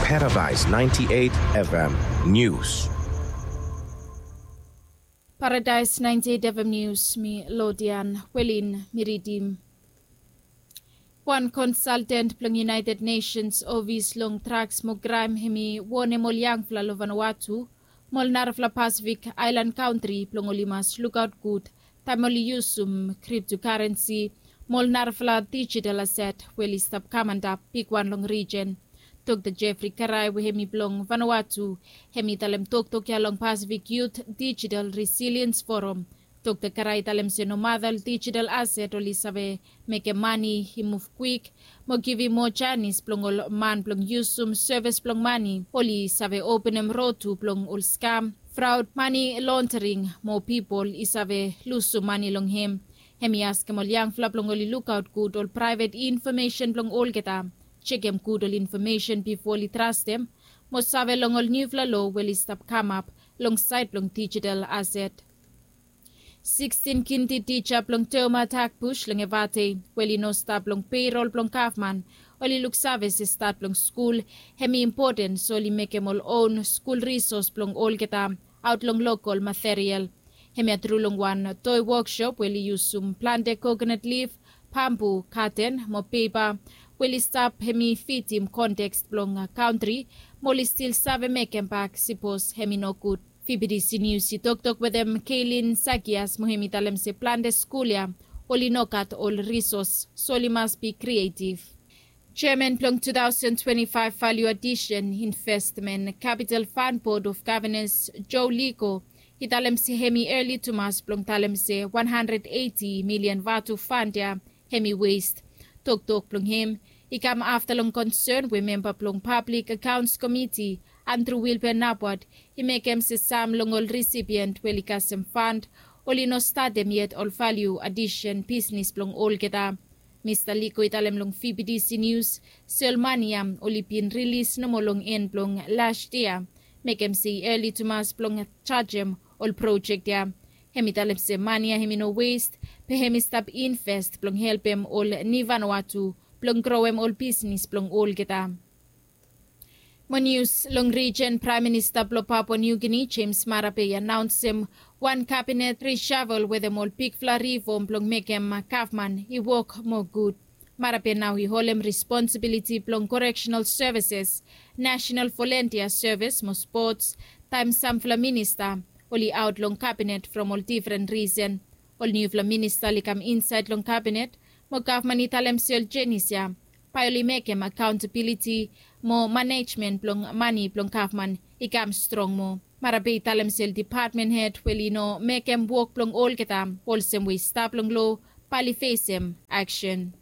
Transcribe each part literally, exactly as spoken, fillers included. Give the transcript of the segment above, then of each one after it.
Paradise ninety-eight F M News. Paradise ninety-eight F M News, mi Lodian Welin mi ridim. Wan konsalten blong United Nations ofis long draks mo kraem hemi wonem ol yangfala long Vanuatu mo ol narafala Pasifik aelan kantri blong oli mas lukaot gud taem oli yusum kriptokarensi mo ol narafala dijital aset we oli stap kam antap bigwan long rijen. Dokta Jeffrey Karai we hemi blong Vanuatu, hemi talem toktok ya long Pasifik Yut Dijital Resiliens Foram. Dokta Karai talem se nomata ol dijital aset oli save mekem mane i muv kwik mo givim moa janis blong ol man blong yusum sevis blong mane, oli save openem rod tu blong ol skam, fraod, mane londering mo pipol i save lusum mane long hem. Hemi askem ol yangfala blong oli lukaot gud ol praevet infomesen blong olgeta, jekem gud ol infomesen bifo oli trastem mo save long ol niufala loa we oli stap kamap long saed blong dijital aset. Sikstin kindi tija blong Toma Takbush long Evate we oli no stap long peirol blong gavman, oli luksave se stat blong skul hemi impoten, so oli mekem ol own skul risos blong olgeta aot long lokol material. Hemia tru long wan toi wokshop we oli yusum plante kokonat lif, bambu, katen mo pepa we oli stap hemi fitim konteks blong kantri mo oli stil save mekem bak sipos hemi nogud. V B T C News i toktok wetem Keilin Sakias mo hemi talem se plante skul ya oli no gat ol risos, so oli mas bi krietiv. Jeaman blong two thousand twenty-five value addition investment Capital Fund Board of Governors Joe Liko i talem se hemi eli tumas blong talem se wan handred eiti milian vatu fund ya hemi west. Toktok blong hem i kam afta long konsern we memba blong Public Accounts Committee Andrew Wilbur Napwat i mekem se sam long ol risipient we oli kasem fund oli no statem yet ol value addition bisnis blong olgeta. Mista Liko i talem long V B T C News se ol mane ya oli bin rilis nomo long en blong last yia, mekem se i eli tumas blong jajem ol projek ya. Hemi talem se mane ya hemi no west, be hemi stap invest blong helpem ol ni Vanuatu blong growem ol bisnis blong olgeta. Mo nius long rijen, Praem Minista blong Papua New Guinea James Marape i anaonsem wan kabinet rishavel wetem ol bigfala rifom blong mekem gavman i wok moa gud. Marape nao i holem responsibiliti blong correctional services, national volunteer service mo sports, taem samfala minista oli aot long kabinet from ol difren risen. Ol niufala minista oli kam insaed long kabinet mo gavman i talem se ol jenis ya bae oli mekem akaontabiliti mo manejmen blong mane blong gavman i kam strong moa. Marape i talem se ol dipatmen hed we oli no mekem wok blong olgeta olsem we i stap long loa bae oli fesem aksen.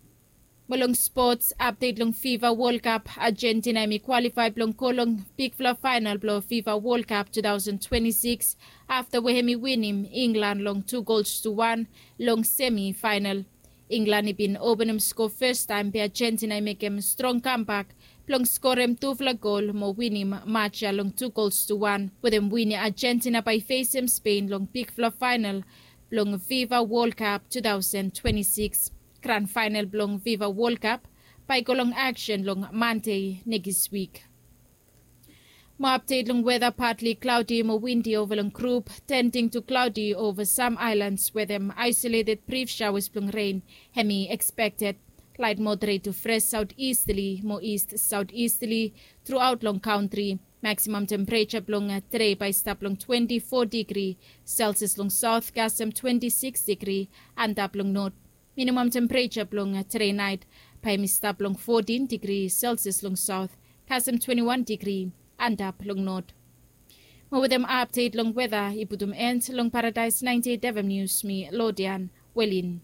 Mo long spots, apdet long FIFA World Cup, Argentina hemi kwalifae blong go long bigfala faenal blong FIFA World Cup two thousand twenty-six afta we hemi winim Inglan long tu gols tu wan long semi faenal. Inglan i bin openem skoa fastaem be Argentina i mekem strong kambak blong skorem tufala gol mo winim maj ya long tu gols tu wan. Wetem win ya Argentina bae i fesem Spain long bigfala faenal blong FIFA World Cup two thousand twenty-six. Gran faenal blong FIFA World Cup bae i go long aksen long Mande nekis wik. Mo apdet long weta, partly cloudy mo windi ova long grup, tending to cloudy ova sam aelans wetem aesoleted brif shaoas blong ren hemi ekspekted. Laet moderet tu fres saotisterli mo ist saotisterli truaot long kantri. Maksimam tempereja blong tede bae i stap long twenti fo digri Selsias long saot kasem twenti sikis digri antap long not. Minimam tempereja blong tede naet bae hemi stap long fotin digri Selsias long saot kasem twenti wan digri antap long not. Mo wetem apdet long weta i putum en long Paradaes naenti eit F M Nius, mi Lodian Welin.